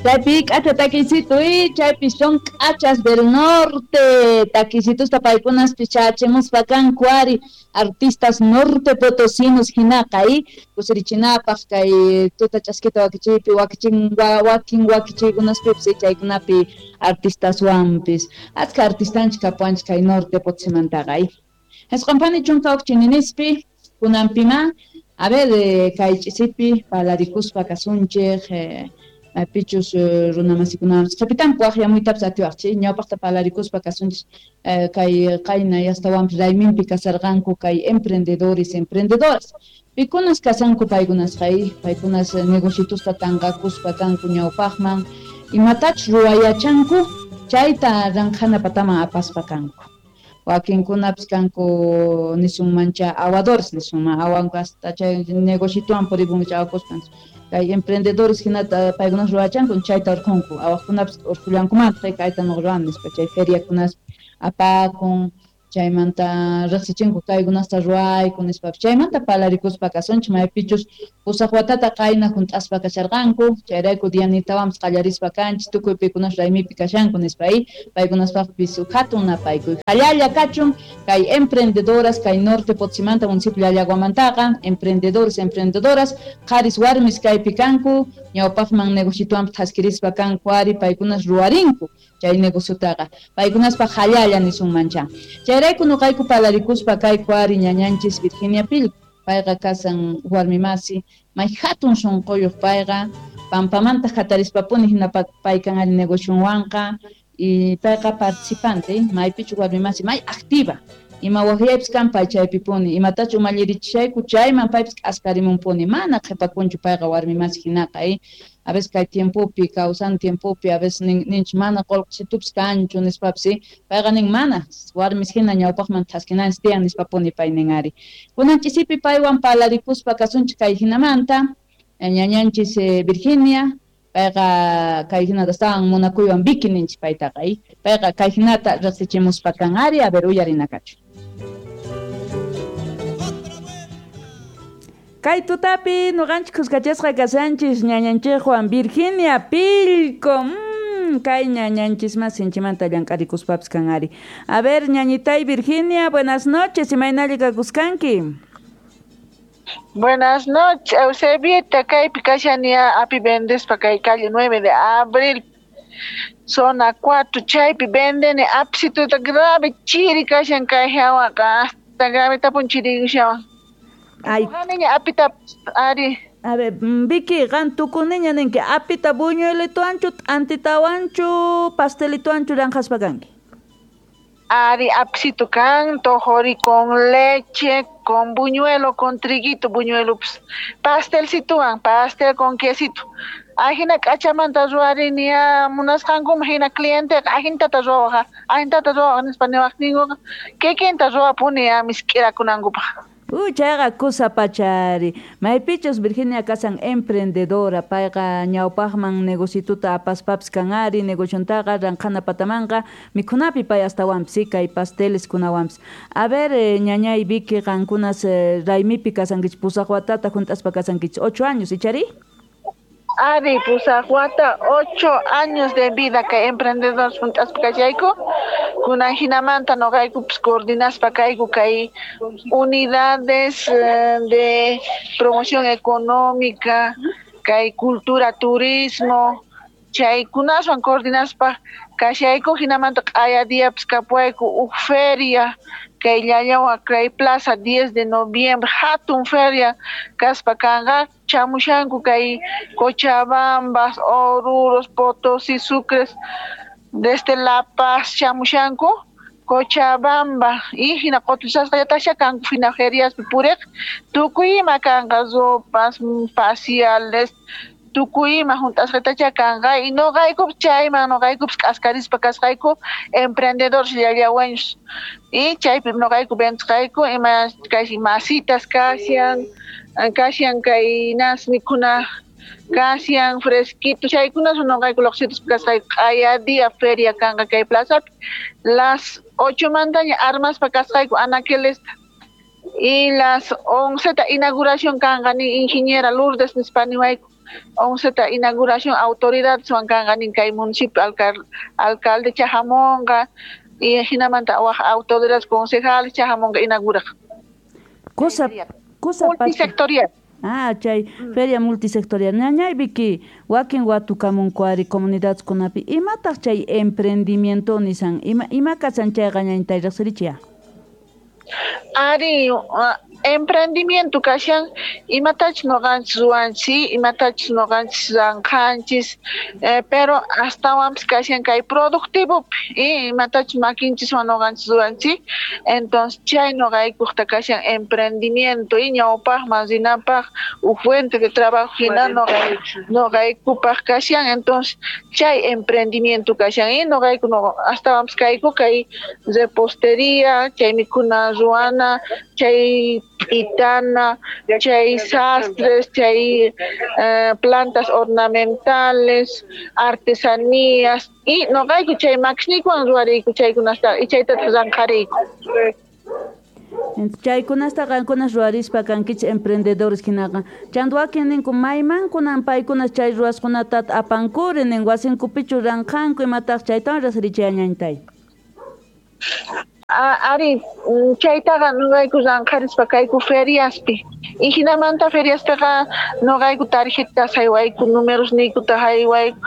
Chaypi k'acha takisito y chaypi son k'achas del norte takisitusta paykunaspis chachimuspa kanku ari artistas norte potosinos hinaqa y kusirichinapaq kay tuta ch'askita wakichiypi wakichin wakin wakichiykunaspipis chaykunapi artistaswanpis achka artistanchik kapuwanchik kay norte potosimantaqa y 90 huk chininispi kunanpima a ver kay ch'isipi palarikuspa kasunchik pichus runamasikunapas qhipitanpi waqyamuytapas atiwaqchik ñawpaqta palarikuspa kasunchik kay qayna yastawanpis rayminpi kasarqanku kay emprendedores emprendedoras pikunas kasanku paykunasqa paykunas negocitusta tanqakuspa kanku ñawpaqman imatachus ruwayachanku chayta ranqhana pataman apaspa kanku wakinkunapis kanku nisunmancha awadores nisunman awanku hasta chay negocituwan purikunku awakuspa kay emprendedores hinata paykunas ruwachanku chayta urqunku awaqkunapis urqullankumantaq kayta nuqa ruwani nispa chay feriakunaspi apakun chaymanta riqsichinku kaykunasta ruwayku nispapis chaymanta palarikuspa kasunchik maypichus pusaq watata qayna hunt'aspa kasharqanku chayrayku dianitawanpis qallarispa kanchik tukuy pikunas raymipi kashanku nispa y paykunaspaqpis hatun napaykuy hallalla kachun kay emprendedoras kay norte Potosimanta municipio Llallaguamantaqa emprendedores emprendedoras qharis warmis kaypi kanku ñawpaqman negocituwanpis thaskirispa kanku ari paykunas ruwarinku chay negociotaqa paykunaspaq hallalla nisunmancha chayrayku nuqayku palarikuspa kayku ari ñañanchis Virginia Pillco payqa kasan warmimasi may hatun sunquyuq payqa pampamanta hatarispapuni hina paykan ari negocionwanqa y payqa participante maypichu warmimasi may activa ima waqyaypis kan pay chaypipuni imatachu umallirichishayku chayman paypis k'askarimunpuni mana qhipakunchu payqa warmimasi hinaqa a veces kay tiempopi kawsan tiempopi a veces ninchik mana qullqisitupis kanchu nispapis payqa nin mana warmis hina ñawpaqman thaskinanchik tiyan nispapuni pay nin ari kunan ch'isipi paywan palarikuspa kasunchik kay hinamanta ñañanchis Virginia payqa kay hinata astawan munakuywan Vicky ninchik paytaqa payqa kay hinata riqsichimuspa kan ari a ver uyarinakachu. Kay tutapi nuqanchik kuskachasqa kashanchis ñañanchikwan Virginia Pillco. Kay ñañanchis mas sinchimanta llank'arikuspapis kan ari. A ver, ñañitay Virginia, buenas noches, imaynalla kakuskanki. Buenas noches, Eusebita, kaypi kashani api vendespa kay calle 9 de abril, zona 4, chaypi vendeni apisituta grave chiri kashan kay hawaqa, hasta grave tapun chirikushawan. Ay. Niña apita ari. A ver, Vicky, qan tukuniña ninki apita buñuelituanchu, t'antitawanchu, pastelituanchu ranqaspa kanki. Ari apsito kan, tojori con leche, con buñuelo, con triguito, buñuelo, pues, pastelcituan, pastel con quesito. Ajina k'achamanta ruwarini munasqankuma hina cliente ajintata ruwaqa, ajintata ruwaqa nispa niwaqninkuqa kikinta ruwapuni misk'irakunankupaq. Chayqa kusa pachari. Maypichus Virginia kasan emprendedora, payqa ñawpaqman negocituta apaspapis kan ari, negociontaqa ranqhana patamanqa mikhunapi pay astawanpis kay pasteles kunawanpis. A ver, ñañay Vicky, qankunas raymipi kasankichik pusaq watata hunt'aspa kasankichik 8 años, ichari? Ari, pusaq wata, 8 años de vida kay emprendedores hunt'aspa kashayku. Kunan hinamanta nuqaykupis coordinaspa kayku kay unidades de promoción económica, kay cultura, turismo, chaykunaswan coordinaspa kashayku hinamanta q'aya diapis kapuwayku huk feria kay Llallawa kay plaza 10 de noviembre hatun feria kaspa kanqa chamushanku kay Cochabamba, Oruros, Potosí, Sucres, desde La Paz chamushanku Cochabamba y hina q'utusasqallatasha kanku hina feriaspi puriq tukuy ima kanqa ropas, faciales, tukuy ima hunt'asqatacha kanqa y nuqaykupis chayman nuqaykupis k'askarispa kasqayku emprendedores llallawaños y chaypi nuqayku ventisqayku ima kay masitas kashan kashan kay nas mikhuna kashan fresquito chaykunas nuqayku luqsituspa kasqayku q'aya día feria kanqa kay plazapi las 8 mantaña armaspa kasqayku anaquelesta y las 11 ta inauguración kanqa ni ingeniera Lourdes nispa niwayku. 11 ta inauguración autoridadeswan kanqa nin kay municipio alcalde chajamonqa y hinamanta waj autoridades concejales chajamonqa inauguraq. Cosa multisectorial. Ah, chay feria multisectorial. Ñañay Vicky, wakin watukamunku ari comunidadkunapi imataq chay emprendimiento nisan ima kasan chayqa ñañtay riqsirichiya? Ari, emprendimiento kashan imatachus nuqanchis ruwanchis, imatachus nuqanchis ranqanchis, pero astawanpis kashan kay productivopi, imatachus makinchiswan nuqanchis ruwanchis, entonces chay nuqaykuqta kashan emprendimiento y ñawpaqman rinapaq huk fuente de trabajo hina nuqaykupaq kashan, entonces chay emprendimiento kashan y nuqayku astawanpis kayku kay repostería, chay mikhuna ruwana, chay pitana, chay sastres, chay plantas ornamentales, artesanías, y noqayku chay makisniykuwan ruwariyku chaykunasta y chaytataq ranqariyku. Chaykunasta qankunas ruwarispa kankichis emprendedores hinaqa. Chanta wakin ninku maymankunan paykunas chay ruwasqunata apankuri nin wasinkupichu ranqanku imataq chaytawan riqsirichiya ñañtay. Ari, chaytaqa nuqayku ranqarispa kayku feriaspi. Y hinamanta feriaspiqa nuqayku tarjetas haywayku, números niykuta haywayku.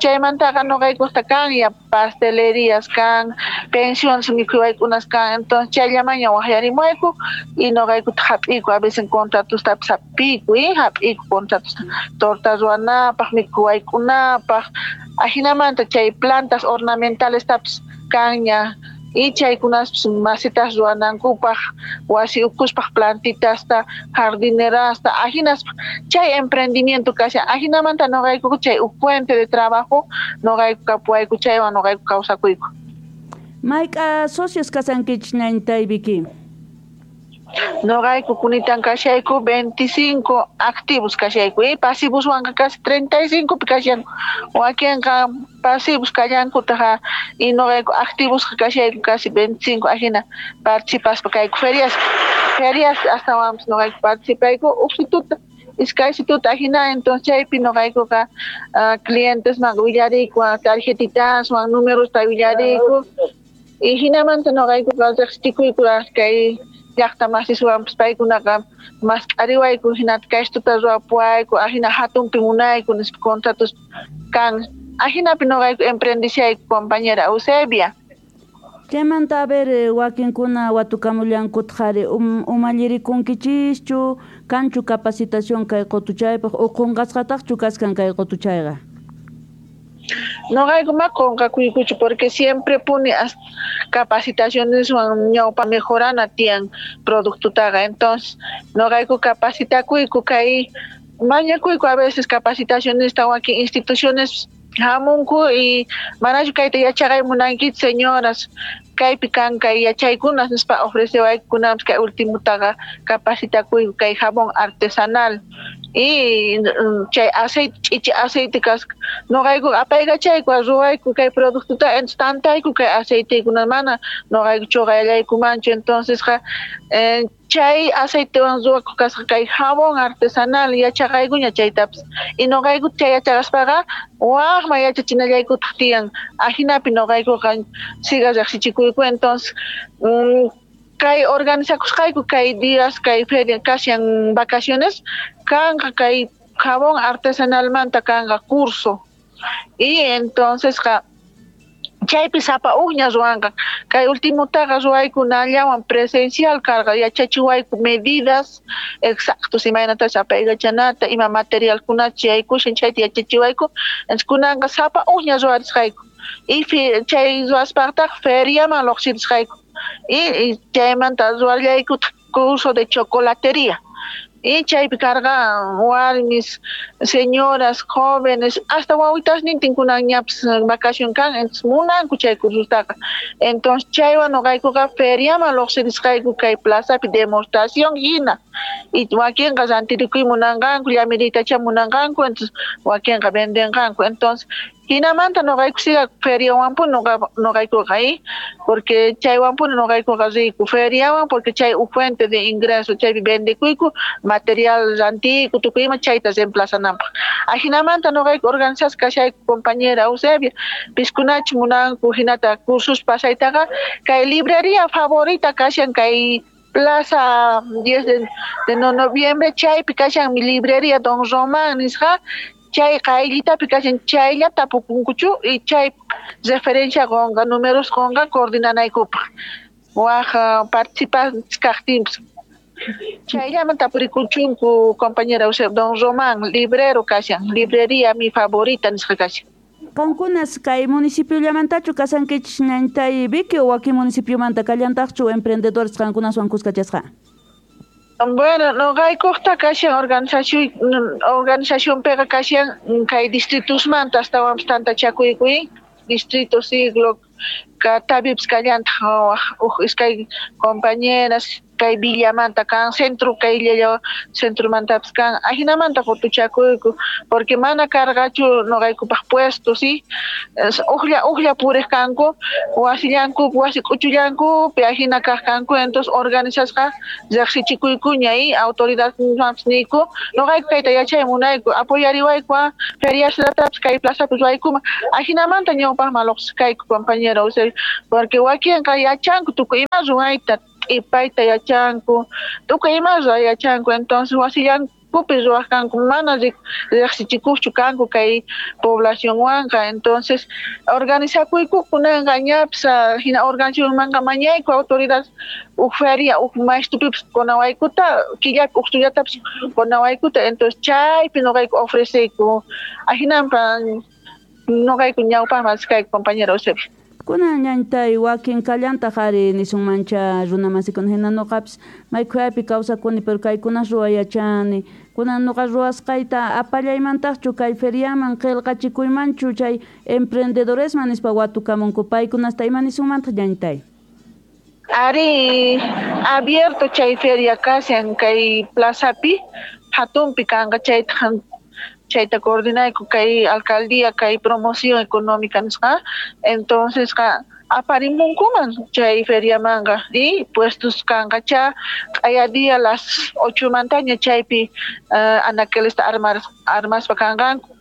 Chaymantaqa nuqaykusta kan ya pastelerías kan, pensiones mikhuywaykunas kan. Entonces chayllamaña waqyarimuwayku y nuqaykuta hap'iyku, a veces contratostapis hap'iyku, hap'iyku contratos torta ruwanapaq, mikhuwaykunapaq. Ajinamanta chay plantas ornamentalestapis kanña. Y chaykunaspis masitas ruwanankupaq, wasi ukuspaq plantitasta, jardinerasta, ajinaspa chay emprendimiento kashan, ajinamanta nuqayku chay huk fuente de trabajo nuqayku kapuwayku chaywan nuqayku kawsakuyku. Mayk'a socios kasankichis ñañtay Vicky? Noqayku kunitan kashayku 25 activos kashayku y pasivoswanqa casi 35 pi kashanku, wakinqa pasivos kallankutaqa y noqayku activos kashayku casi 25 ajina participaspa kayku ferias astawanpis noqayku participayku uqsituta iskaysituta ajina, entonces chaypi noqaykuqa clientesman willariyku tarjetitaswan numerosta willariyku y hinamanta noqaykuqa riqsichikuyku kay llaqta masiswanpis paykunaqa mask'ariwayku hinata kaystuta ruwapuwayku ajina hatunpi munayku nispa contratos kan, ajinapi noqayku emprendishayku compañera Eusebia. Chaymanta a ver wakinkuna watukamullankutaq ari umallirikunkichischu kanchu capacitación kay qutuchaypaq o qunqasqataqchu kaskan kay qutuchayqa? Noqayku ma qunqakuykuchu porque siempre puni capacitacioneswan ñawpa mejorana tiyan productotaqa, entonces noqayku capacitakuyku kay mañakuyku a veces capacitacionesta wakin instituciones hamunku y manachu kayta yachaqay munankichis señoras kaypi kan kay yachaykunas nispa ofrecewaykunapas kay ultimotaqa capacitakuyku kay jabón artesanal y chay aceite ch'ichi aceite kasqa noqayku apaykachayku ruwayku kay productota entonces tantayku kay aceitekuna mana noqayku chuqallaykumanchu, entonces chay aceitewan ruwakuq kasqa kay jabón artesanal yachaqaykuña chaytapis y noqayku chay yachaqaspaqa waqman yachachinallaykutaq tiyan ajinapi noqaykuqa siga riqsichikuyku, entonces kay organizakusqayku kay días kay feria kashan vacaciones kanqa kay jabón artesanalmanta kanqa curso y entonces chaypi sapa uqña ruwanqa kay ultimotaqa ruwaykunallawan presencial karqa yachachiwayku medidas exactos imaynatachus apaykachanata ima materialkunachu yaykushan chayta yachachiwayku, entonces kunanqa sapa uqña ruwarisqayku y chay ruwaspaqtaq feriaman lluqsirisqayku y chaymanta ruwallaykutaq curso de chocolatería y chaypi karqa warmis, señoras, jóvenes, hasta wawitasnintin kunanñapis vacación kan, entonces munanku chay cursotaqa, entonces chaywan noqaykuqa feriaman lluqsirisqayku kay plazapi demostración hina y wakinqa rantirikuy munanqanku, llamiriytacha munanqanku, entonces wakinqa vendenqanku, entonces Hinamanta noqayku siga feriawanpuni noqaykuqa porque chaywanpuni noqaykuqa riyku feriawan, porque chay huk fuente de ingreso, chaypi vendekuyku material rantiyku tukuy ima chayta reemplazananpaq. Ajinamanta noqayku organizasqa kashayku, compañera Eusebia. Piskunachu munanku hinata cursos pasaytaqa, kay librería favorita kashan kay Plaza 10 de noviembre, chaypi kashan mi librería Don Román nisqa, chay qayllitapi kashan, chaylla tapukunkuchu y chay referencia qunqa, números qunqa coordinanaykupaq waj participantes kaqtinpis. Chayllaman tapurikuchunku, compañera Eusebio. Don Román librero kashan, librería mi favorita nisqa kashan. Qankunas kay municipiollamantachu kasankichis, ñañtay Vicky, o wakin municipiomanta kallantaqchu emprendedores qankunaswan kuskachasqa? Bueno, noqaykuqta kashan organización, organizacionpiqa kashan kay distritosmanta astawanpis tantachakuykuy, distrito Siglo Catavips kallantaq huk iskay compañeras, kay villamanta kan, centro kay llalla centromantapis kan. Ajinamanta qutuchakuyku porque mana karqachu noqaykupaq puesto, sí, ujlla ujlla puriq kanku wasillankupi, wasi k'uchullankupi ajina kaq kanku. Entonces organizasqa riqsichikuykuña y autoridadmanpis niyku: noqayku kayta yachay munayku, apoyariwayku, feriaslatapis kay plazapi ruwaykuman. Ajinamanta ñawpaqman lluqsiq kayku, compañero, porque wakinqa yachanku tukuy ima ruwayta, t'ipayta yachanku, tukuy ima ruway yachanku. Entonces wasillankupi ruwaq kanku, mana riqsichikuqchu kanku kay poblacionwanqa. Entonces organizakuyku kunanqa ñapis hina organizacionmanqa mañayku autoridad huk feria huk maystupipis qunawaykuta, killapi huk tullatapis qunawaykuta. Entonces chaypi noqayku ofreceyku. Ajinampa noqayku ñawpaqman kayku, compañero Eusebio. Kunan, ñañtay, wakin kallantaq ari nisunmancha runa masikuna hina: noqapis maykhuyaypi kawsakuni, pero kaykunas ruway yachani, kunan noqa ruwasqayta apallaymantaqchu kay feriaman, qillqachikuymanchu chay emprendedoresman nispa watukamunku, paykunasta ima nisunmantaq, ñañtay? Ari, abierto chay feria kashan kay plazapi, hatunpi kanqa. Chayta coordinayku kay alcaldía, kay promoción económica nisqa. Entonces qa aparimunkuman chay feriamanqa y puestos kanqa cha q'aya día las 8 mantaña chaypi anaquelesta armaspa kanqanku.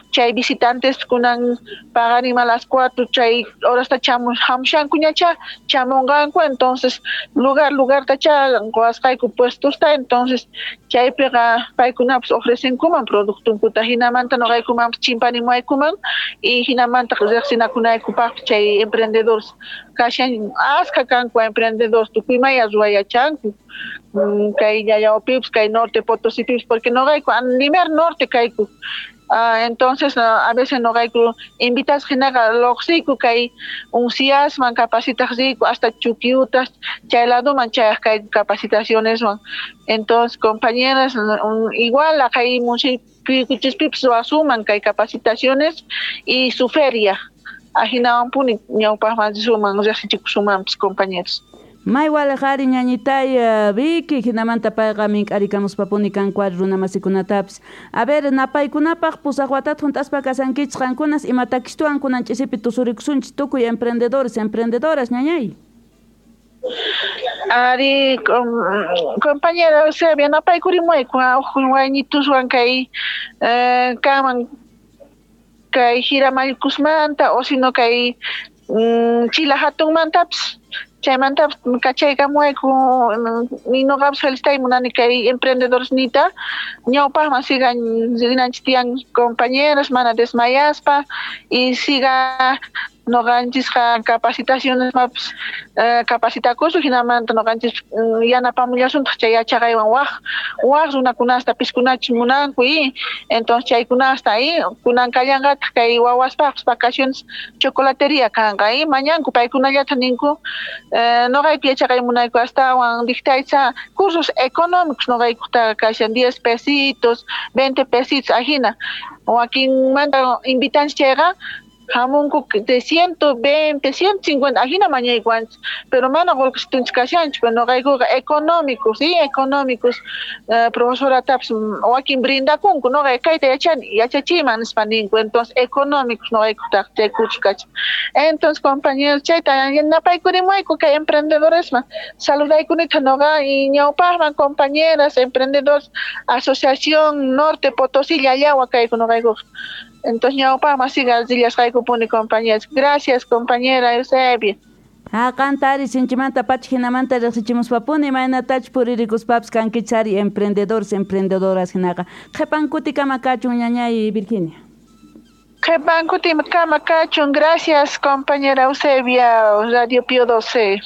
Chay visitantes kunan paqarinman las 4 chay horasta hamushankuñacha, chamunqanku. Entonces lugar lugartacha quwasqayku puestosta. Entonces chaypiqa paykunapas ofrecenkuman productonkuta, hinamanta noqaykumanpas chimpanimuwaykuman y hinamanta riqsinakunaykupaqpis chay emprendedores kashan. Askha kanku emprendedores, tukuy imaya ruway yachanku kay Llallawapipis, kay Norte Potosipipis, porque noqayku Limer Norte kayku. Entonces a veces noqayku invitasqa hinaqa lluqsiyku kay unciasman capacitaq riyku, hasta Chuquiutas chay ladoman chayaq kayku capacitacioneswan. Entonces, compañeras, igual kay municipioykichispipis ruwasunman kay capacitaciones y su feria. Ajinawanpuni ñawpaqman risuman, riqsichikusunmanpis, compañeros. May waliq ari, ñañitay Vicky, hinamanta payqa mink'arikamuspapuni kanku ari runa masikunatapis. A ver, napaykunapaq 8 watata hunt'aspa kasankichis qankunas, ima takistuwan kunan ch'isipi tusurikusunchis tukuy emprendedores, emprendedoras, ñañay? Ari, compañera Eusebia, napaykurimuwayku huk waynituswan kay kanman kay Jiramallkusmanta o sino kay Chila hatunmantapis, chaymantapis kachaykamuwayku. Noqapas felicitay munani kay emprendedores nita. Ñawpaqman sigan rinanchis tiyan, compañeros, mana desmayaspa, y siga noqanchisqa capacitaciones mapis capacitakusun. Hinamanta noqanchis yanapamullasuntaq chay yachaqaywan waj waj runakunasta piskunachus munanku y entonces chaykunasta y kunan kallanqataq kay wawaspaqpis vacaciones chocolatería kanqa y mañanku paykunallata ninku: noqayku yachaqay munayku astawan dictaycha cursos económicos. Noqaykutaqa kashan 10 pesitos, 20 pesitos, ajina wakinmanta invitanchis chayqa. Hamunku de 120, 150, ajina mañaykuanchis, pero mana qullqisitunchis kashanchu, pero noqaykuqa económicos, sí, económicos, profesoratapis wakin brindakunku, noqa kayta yachani, yachachiyman nispa ninku, entonces económicos noqaykutaq chay curso kachan. Entonces, compañeros, chayta yanapaykurimuyku kay emprendedoresman, saludaykunita noqa y ñawpaqman compañeras, emprendedores, Asociación Norte Potosí Llallagua kayku noqaykuqa. Entonces, ñawpaqman siga rillasqaykupuni compañeras. Gracias, compañera Eusebia. Ha, qanta ari sinchimanta pacha hinamanta riqsichimuspapuni imaynatachus puririkuspapis kankichis ari emprendedores, emprendedoras hinaqa. Qhipan kutikama kachun ñañay Virginia. Qhipan kutikama kachun. Gracias, compañera Eusebia, Radio Pío 12.